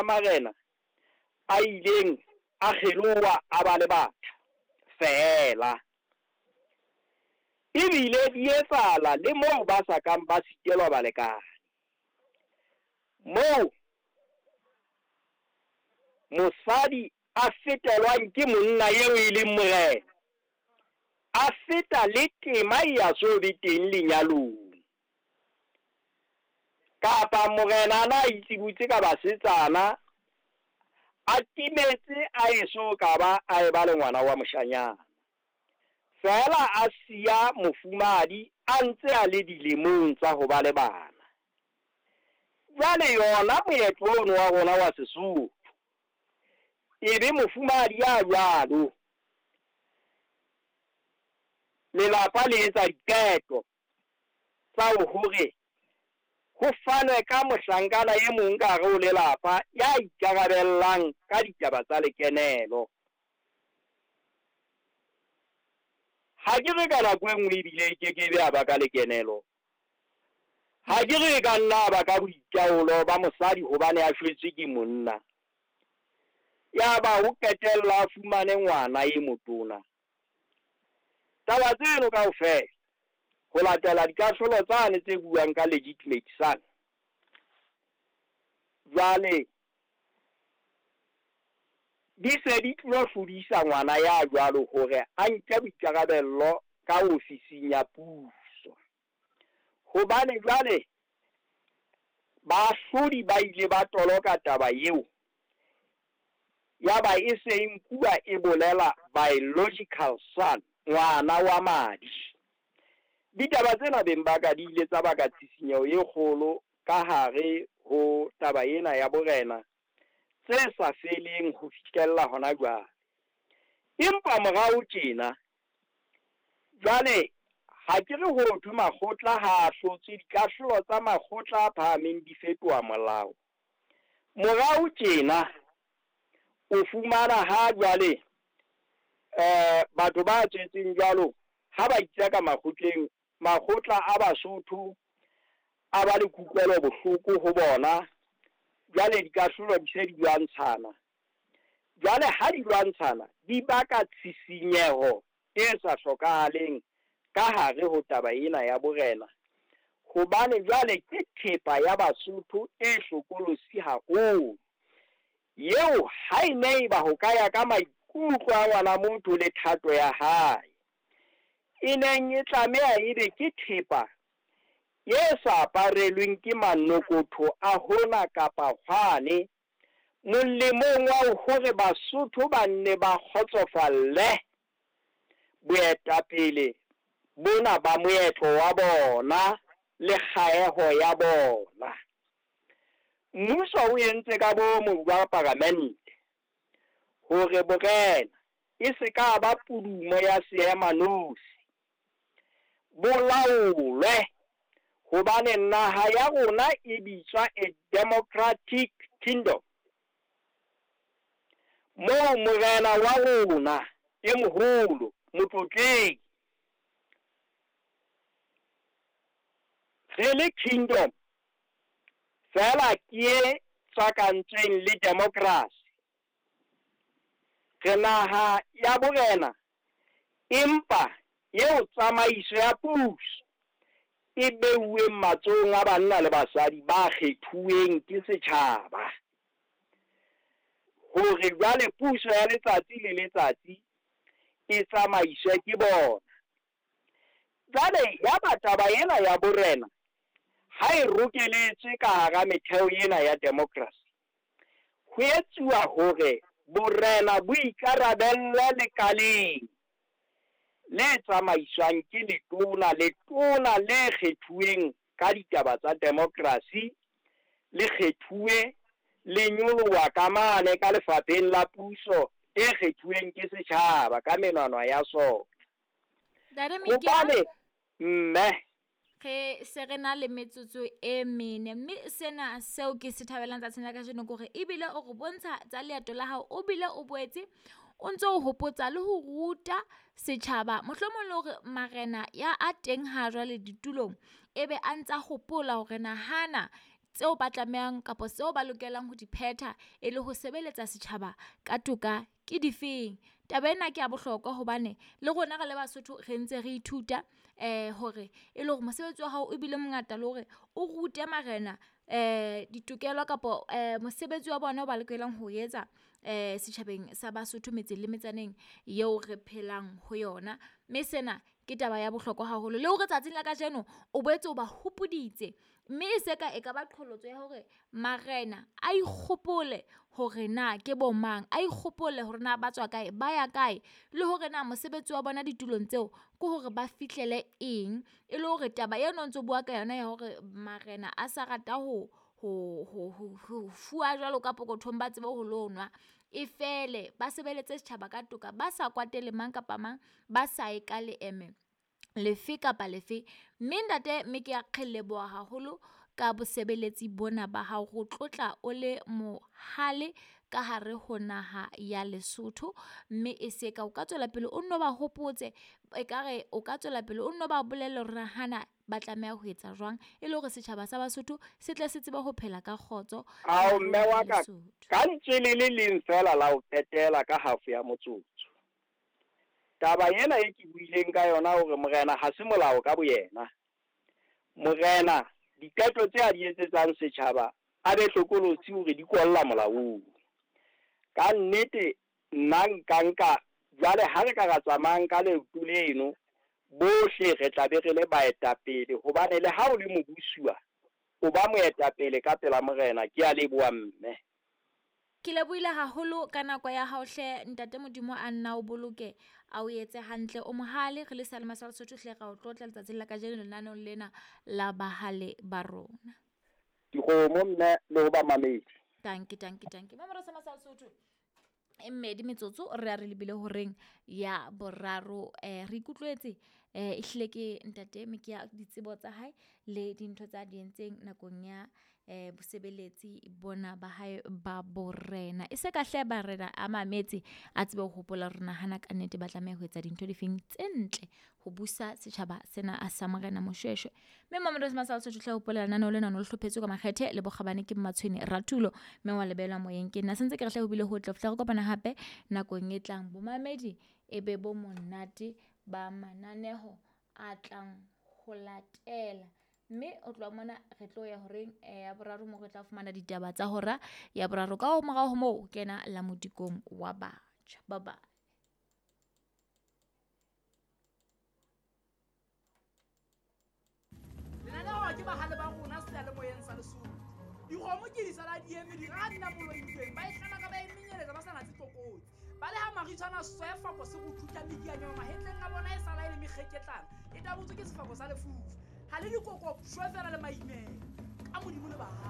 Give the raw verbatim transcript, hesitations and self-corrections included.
Marena a ileng a kgeloha a ba le batjha feela. Ebile di etsahala le moo ba sa kang ba sitelwa balekane. Moo mosadi a fetelwang ke monna eo e leng morena, a feta le tema e ya so be teng lenyalong. Kapa morena a na itsebutse ka basetsana, a timetse a eso ka ba a eba le ngwana wa moshanyana. Feela a siya mofumahadi a ntse a le dilemong tsa ho ba le bana. Jwale yona moetlo ono wa rona wa Sesotho, ebe mofumahadi ya jwalo lelapa le etsa diqeto tsa hore ho fanwe ka mohlankana e mong ka hare ho lelapa ya ikarabellang ka ditaba tsa lekenelo. Ha ke re ka nako e nngwe ebile e kekebe ya ba ka lekenelo. Ha ke re e ka nna ba ka boitaolo ba mosadi hobane a shwetswe ke monna. Ya ba ho qetella a fumane ngwana e motona. Taba tseno kaofela ho latela dikahlolo tsane tse buang ka legitimate son. Jwale di se di tlo hlodisa ngwana ya jwalo hore a nke boikarabello ka ofising ya puso. Hobane jwale baahlodi ba ile ba toloka taba eo, ya ba e se e nkuwa e bolela biological son, ngwana wa madi. Ditaba tsena beng ba ka di ile tsa baka tshisinyeho e kgolo ka hare ho taba ena ya borena tse sa feleng ho fihlella hona jwale. Empa morao tjena jwale ha ke re ho thwe makgotla ha a hlotse, dikahlolo tsa makgotla a phahameng di fetoha molao. Morao tjena o fumana ha jwale eh batho ba tswetseng jwalo ha ba itseka makgotleng, makgotla a Basotho a ba le kutlwelo bohloko ho bona. Jwale dikahlolo di se di lwantshana. Jwale ha di lwantshana di baka tshisinyeho e sa hlokahaleng ka hare ho taba ena ya borena. Hobane jwale ke thepa ya Basotho e hlokolosi haholo, eo ha e ne eba ho ka ya ka maikutlo a ngwana motho le thato ya hae, e neng e tlameha ebe ke thepa e sa aparelweng ke manokotho a hona kapa hwane, molemong wa hore Basotho ba nne ba kgotsofalle boetapele bona ba moetlo wa bona le kgaeho ya bona. Mmuso o entse ka bomo ba paramente hore borena e se ka ba pudumo ya seemanosi, bo laolwe, hobane naha ya rona e bitswa a democratic kingdom, moo morena wa rona e moholo motlotlehi re le kingdom feela ke e tswakantsweng le democracy. Re naha ya borena, empa eo tsamaiso ya puso e beuweng matsohong a banna le basadi ba kgethuweng ke setjhaba, hore jwale puso ya letsatsi le letsatsi e tsamaiswe ke bona. Jwale ya ba taba ena ya borena ha e rokeletswe ka hara metheo ena ya democracy, ho etsuwa hore borena bo ikarabelle lekaleng le tsamaiswang ke letona, letona le kgethuweng ka ditaba tsa democracy, le kgethuwe le nyoloha ka mane ka lefapheng la puso e kgethuweng ke setjhaba ka menwana ya sona. Hobane mme re se re na le metsotso e mene, mme sena seo ke se thabelang tsatsing la kajeno ke hore ebile o re bontsha tsa leeto la hao, o bile o boetse o ntso o hopotsa le ho ruta setjhaba, mohlomong le hore marena ya a teng ha jwale ditulong ebe a ntsa hopola hore nahana tseo ba tlamehang kapa tseo ba lokelang ho di phetha e le ho sebeletsa setjhaba ka toka ke difeng. Taba ena ke ya bohlokwa hobane le rona re le Basotho re ntse re ithuta eh hore e le hore mosebetsi wa hao o bile mongata le hore o rute marena eh ditokelo kapa eh mosebetsi wa bona o ba lokelang ho etsa eh setjhabeng sa Basotho metseng le metsaneng eo re phelang ho yona. Mme sena ke taba ya bohlokwa haholo le hore tsatsing la kajeno o boetse o ba hopoditse mme e se ka e ka ba qholotso ya hore marena a ikgopole hore na ke bo mang, a ikgopole hore na ba tswa kae, ba ya kae le hore na mosebetsi wa bona ditulong tseo ke hore ba fihlele eng. E le hore taba eno o ntso bua ka yona ya hore marena a sa rata ho ho ho ho fuwa jwalo ka pokothong ba tsebe ho lo nwa e fele. Ba sebeletse setjhaba ka toka, ba sa kwatele mang kapa mang, ba sa ye ka leeme lefe kapa lefe. Mme ntate mme ke a re leboha haholo ka bosebeletsi bona ba hao, re o tlotla o le mohale ka hare ho naha ya Lesotho. Mme e se ka o ka tswela pele o nno ba hopotse ekare o ka tswela pele o nno ba bolelle hore hana ba tlameha ho etsa jwang e le hore setjhaba sa Basotho se tle se tsebe ho phela ka kgotso. Ao mme wa ka, ka lentswe le le leng feela la ho qetela ka half ya motsotso. Taba ena e ke buileng ka yona hore morena ha se molao ka boyena. Morena diqeto tse a di etsetsang setjhaba a be hlokolosi hore di kolla molaong. Ka nnete nna nka nka jwale ha re ka ra tsamayang ka leoto leno bohle re tla be re le baetapele, hobane le ha o le mobusuwa o ba moetapele ka pela morena. Ke a leboha mme. Ke lebohile haholo ka nako ya hao hle ntate. Modimo a nna o boloke, a o etse hantle, o mohale. Re le Sealema sa Lesotho hle ra o tlotla letsatsing la kajeno lenaneong lena la bahale ba rona. Dikgomo mme le ho ba mamedi. Tanki tanki tanki. Mamoro sa Lesotho e mmedi metsotso re a re lebile horeng ya boraro. Eh re ikutlwetse eh ehlile ke ntate Mekia ditsebo tsa hae le dintho tsa di entseng nakong ya eh bosebeletsi bona ba hae ba borena. E se ka hle barena a mametse a tsebe ho hopola hore nahana ka nnete ba tlameha ho etsa dintho difeng tse ntle ho busa setjhaba sena a sa morena Moshoeshoe. Mme Mamelodi sa Lesotho hle hopola lenaneo lena no le hlophetswe ka makgethe le bokgabane ke Mmatshwene Ratulo mme wa lebelwa moyeng ke nna. Sentse ke re hle ho bile ho tle re kopana hape nakong e tlang. Bomamedi e be bo monate ba mananeho a tlang ho latela. Mme o tloha mona re tlo ya horeng ya boraro moo re tla fumana ditaba tsa hora ya boraro. Ka ho morao ho moo kena la modikong wa batjha. Bye bye. Lenaneo ke bahale ba rona seyalemoyeng sa Lesotho. Dikgomo ke di sala di eme di ra nna boloitsweng ba e hlama ka ba e menyeletsa ba sa natse tlokotsi. Ba le ha maritshwana sefako se go thuta medianyana mahetleng a bona e sala e le mekgeketlana e tabotswe ke sefako sa lefufa. Ha le dikoko shwe fela le maimela ka Modimo le bahale.